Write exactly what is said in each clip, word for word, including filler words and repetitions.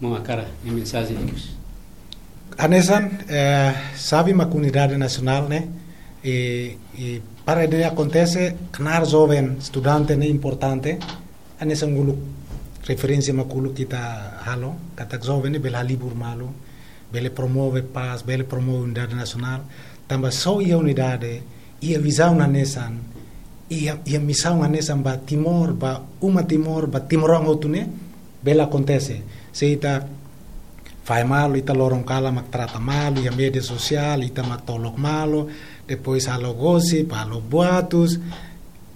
Maun Akara, nia mensajen ikus. Hanesan, eh, sabe mak unidade nasionál ne'e, i, i para ida-ne'e akontese, knaar joven, estudante ne'e importante, hanesan uluk referénsia mak uluk ita halo, katak joven ne'e bele halibur malu, bele promove pás, bele promove unidade nasionál, tanba só iha unidade, iha vizaun hanesan, iha, iha misaun hanesan ba Timor, ba uma Timor, ba timoroan hotu ne'e, bele akontese. Se ita fahe malu, ita loron kalan mak trata malu, iha média sosiál, ita mak tolok malu, depois halo gosip, halo boatus,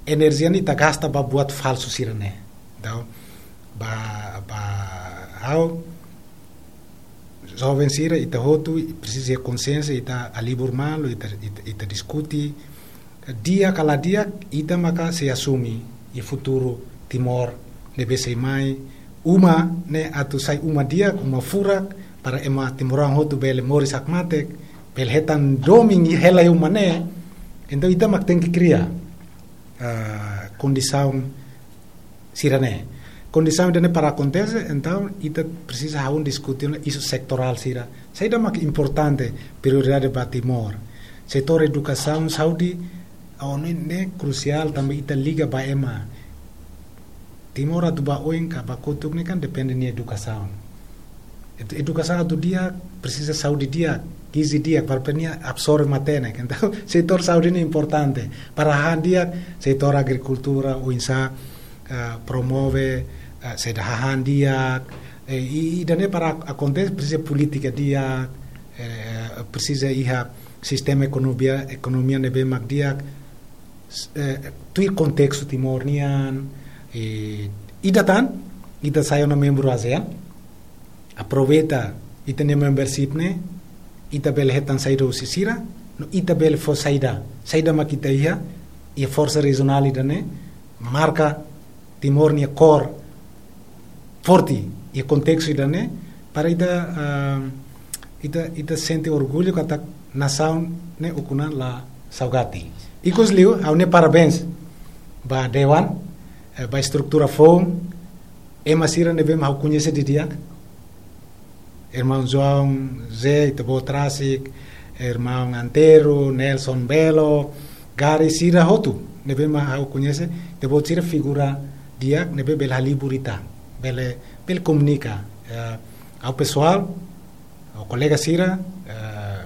enerjia ne'e ita gasta ba buat falsu sira-ne'e. Entaun, ba, ba, ha'u, joven sira, ita hotu presiza konsiénsia, ita halibur malu, ita, ita, ita diskute. Di'ak ka la di'ak, ita maka sei asume iha futuru Timor ne'ebé sei mai. Uma ne'e atu sai uma di'ak, uma furak, para ema timoroan hotu bele moris hakmatek, bele hetan domin hela iha uma ne'e. Entaun ita mak tenke kria, ah, kondisaun sira-ne'e. Kondisaun ida-ne'e para akontese, entaun ita presiza hahú diskute ona isu setorál sira. Saida mak importante, prioridade ba Timor. Setór edukasaun, saúde, ha'u hanoin ne'e krusiál, tanba ita liga ba ema. Timor atu ba oin ka ba kotuk ne'e kan depende nia edukasaun. Edu-, edukasaun atu di'ak, presiza saúde di'ak, gizi di'ak, para nia absorve matenek. Entaun, setór saúde ne'e importante. Para hahán di'ak, setór agrikultura, oinsá, eh, promove, eh, saida hahán di'ak, eh, i, i ida-ne'e para akontese, presiza polítika di'ak, eh, presiza iha sistema ekonomia, ekonomia ne'ebé mak di'ak, s-, eh, tuir kontestu Timor nian, eh, ida tan, ita sai ona membru ASEAN, aproveita ita-nia membership ne'e, ita bele hetan saida husi sira, no ita bele fó saida, saida mak ita iha, iha forsa rejionál ida-ne'e, marka Timor nia kór forte iha kontestu ida-ne'e, para ita, ah, ita, ita sente orgullu katak nasaun ne'e ukun an la saugati. Ikus liu, ha'u-nia parabéns ba dewan, eh, ba estrutura foun, ema sira ne'ebé mak ha'u koñese didi'ak, irmaun João Zé, ita-boot rasik, irmaun Antero, Nelson Belo, Gary, sira hotu ne'ebé mak ha'u koñese, ita-boot sira figura di'ak ne'ebé bele halibur ita, bele, bele komunika. Eh, ha'u pesoál, ha'u kolega sira, eh,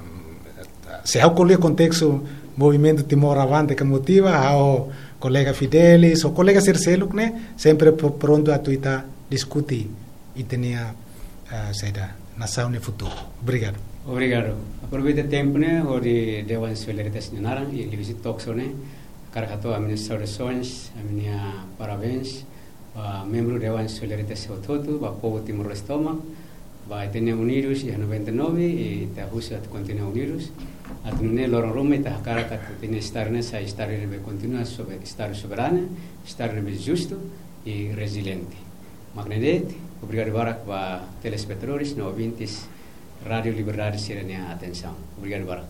se ha'u ko'alia kontestu Movimentu Timor Avante ka Motiva, ha'u kolega Fidelis, ou kolega sira seluk ne'e, sempre pro-, prontu atu ita diskute ita-nia, eh, saida, nasaun nia futuru. Obrigadu. Obrigadu. Aproveita tempu ne'e, hodi dewan solidariedade nia naran, i liuhusi talk show ne'e, hakarak hato'o ami-nia saudasoens, ami-nia parabéns ba membru dewan solidariedade hotu-hotu, ba povu Timor-Leste tomak, ba ita-nia unidus iha noventa e nove, i ita husu atu kontinua unidus. Atu nune'e loron ruma ita hakarak atu ita-nia estadu ne'e sai estadu ne'ebé kontinua sobe-, estadu soberanu, estadu ne'ebé justu i reziliente. Mak ne'e de'it, obrigadu barak ba telespetadores no ouvintes Rádio Liberdade sira-nia atensaun. Obrigadu barak.